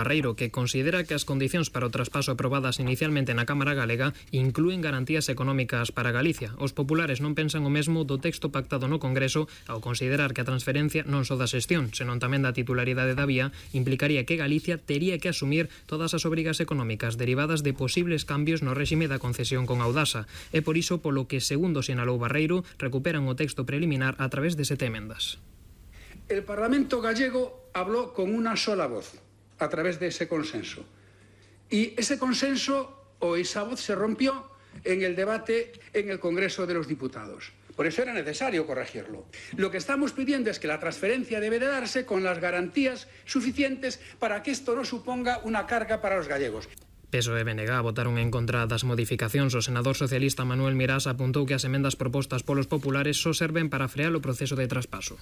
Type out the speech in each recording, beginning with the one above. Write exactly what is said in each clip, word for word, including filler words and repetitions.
Barreiro, que considera que as condicións para o traspaso aprobadas inicialmente na Cámara Galega inclúen garantías económicas para Galicia. Os populares non pensan o mesmo do texto pactado no Congreso ao considerar que a transferencia non só da xestión, senón tamén da titularidade da vía, implicaría que Galicia tería que asumir todas as obrigas económicas derivadas de posibles cambios no réxime da concesión con Audasa. É por iso polo que, segundo sinalou Barreiro, recuperan o texto preliminar a través de sete emendas. El Parlamento gallego habló con una sola voz a través de ese consenso. Y ese consenso o esa voz se rompió en el debate en el Congreso de los Diputados. Por eso era necesario corregirlo. Lo que estamos pidiendo es que la transferencia debe de darse con las garantías suficientes para que esto no suponga una carga para los gallegos. P S O E e B N G votaron en contra das modificacións. O senador socialista Manuel Mirás apuntou que as emendas propostas polos populares só serven para frear o proceso de traspaso.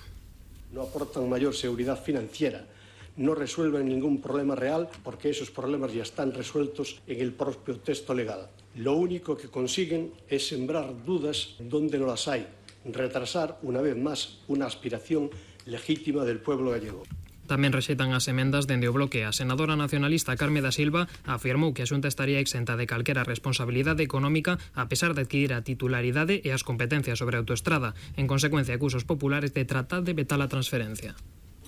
No aportan mayor seguridad financiera, no resuelven ningún problema real porque esos problemas ya están resueltos en el propio texto legal. Lo único que consiguen es sembrar dudas donde no las hay, retrasar una vez más una aspiración legítima del pueblo gallego. Tamén rexeitan as emendas dende o bloque. A senadora nacionalista Carme da Silva afirmou que a Xunta estaría exenta de calquera responsabilidade económica a pesar de adquirir a titularidade e as competencias sobre a autoestrada. En consecuencia, acusa os populares de tratar de vetar a transferencia.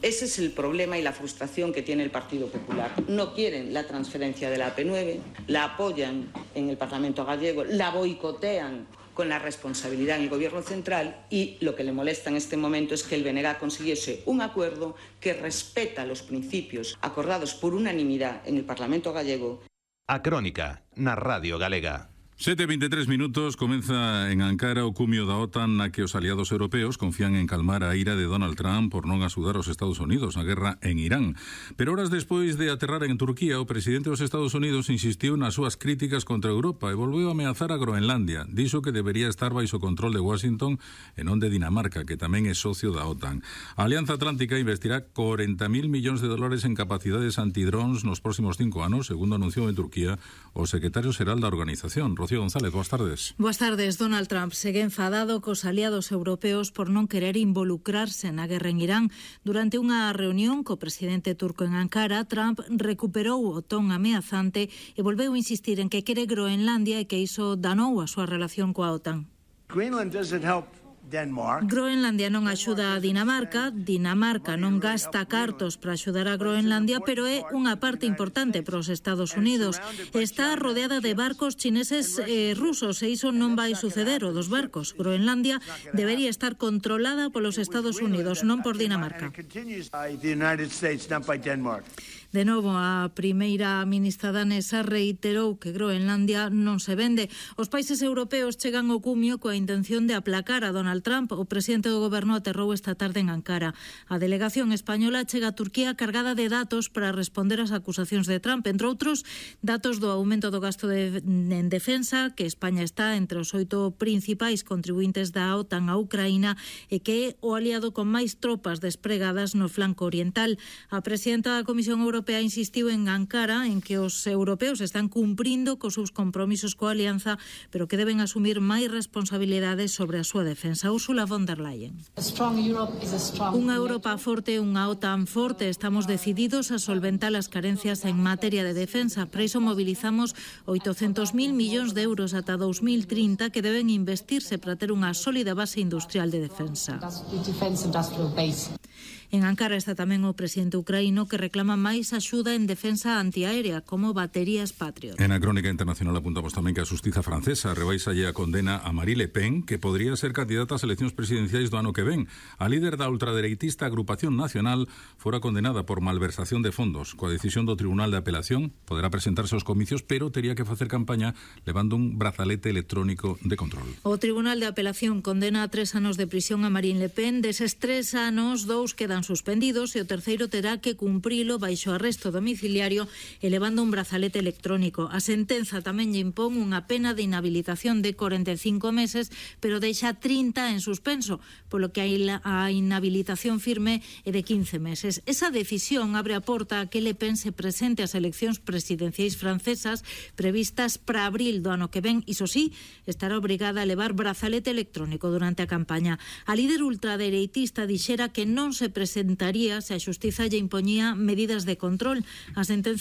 Ese es el problema y la frustración que tiene el Partido Popular. No quieren la transferencia de la A P nueve, la apoyan en el Parlamento gallego, la boicotean con la responsabilidad en el Gobierno central y lo que le molesta en este momento es que el B N G consiguiese un acuerdo que respeta los principios acordados por unanimidad en el Parlamento gallego. A Crónica, na Radio Galega. sete e veintitrés minutos, comeza en Ankara o cumio da OTAN na que os aliados europeos confían en calmar a ira de Donald Trump por non axudar aos Estados Unidos na guerra en Irán. Pero horas despois de aterrar en Turquía, o presidente dos Estados Unidos insistiu nas súas críticas contra Europa e volveu a ameazar a Groenlandia. Dixo que debería estar baixo control de Washington e non de Dinamarca, que tamén é socio da OTAN. A Alianza Atlántica investirá corenta mil millóns de dólares en capacidades antidrones nos próximos cinco anos, segundo anunciou en Turquía o secretario xeral da organización. Rocío González, boas tardes. Boas tardes. Donald Trump segue enfadado cos aliados europeos por non querer involucrarse na guerra en Irán. Durante unha reunión co presidente turco en Ankara, Trump recuperou o ton ameazante e volveu insistir en que quere Groenlandia e que iso danou a súa relación coa OTAN. Greenland doesn't help Denmark. Groenlandia non axuda a Dinamarca, Dinamarca non gasta cartos para axudar a Groenlandia, pero é unha parte importante para os Estados Unidos. Está rodeada de barcos chineses e rusos e iso non vai suceder o dos barcos. Groenlandia debería estar controlada polos Estados Unidos, non por Dinamarca. De novo, a primeira ministra danesa reiterou que Groenlandia non se vende. Os países europeos chegan ao cumio coa intención de aplacar a Donald Trump. O presidente do goberno aterrou esta tarde en Ankara. A delegación española chega a Turquía cargada de datos para responder ás acusacións de Trump, entre outros, datos do aumento do gasto de, en defensa, que España está entre os oito principais contribuintes da OTAN a Ucraína e que é o aliado con máis tropas despregadas no flanco oriental. A presidenta da Comisión Europea Europea insistiu en Ankara en que os europeos están cumprindo cos seus compromisos coa alianza, pero que deben asumir máis responsabilidades sobre a súa defensa. Ursula von der Leyen. Unha Europa forte, unha OTAN forte. Estamos decididos a solventar as carencias en materia de defensa. Para iso mobilizamos oitocentos mil millóns de euros ata dous mil trinta que deben investirse para ter unha sólida base industrial de defensa. En Ankara está tamén o presidente ucraíno que reclama máis axuda en defensa antiaérea como baterías Patriot. En a Crónica Internacional apuntamos tamén que a xustiza francesa rebaisalle a condena a Marine Le Pen, que podría ser candidata ás eleccións presidenciais do ano que ven. A líder da ultradereitista Agrupación Nacional fora condenada por malversación de fondos. Coa decisión do Tribunal de Apelación poderá presentarse aos comicios, pero tería que facer campaña levando un brazalete electrónico de control. O Tribunal de Apelación condena a tres anos de prisión a Marine Le Pen. Deses tres anos, dous quedan suspendidos e o terceiro terá que cumprilo baixo arresto domiciliario e levando un brazalete electrónico. A sentenza tamén lle impón unha pena de inhabilitación de corenta e cinco meses, pero deixa trinta en suspenso, polo que a inhabilitación firme é de quince meses. Esa decisión abre a porta a que Le Pen se presente ás eleccións presidenciais francesas previstas para abril do ano que ven. Iso sí, estará obrigada a levar brazalete electrónico durante a campaña. A líder ultradereitista dixera que non se presenta presentaría se a xustiza lle impoñía medidas de control. A sentenza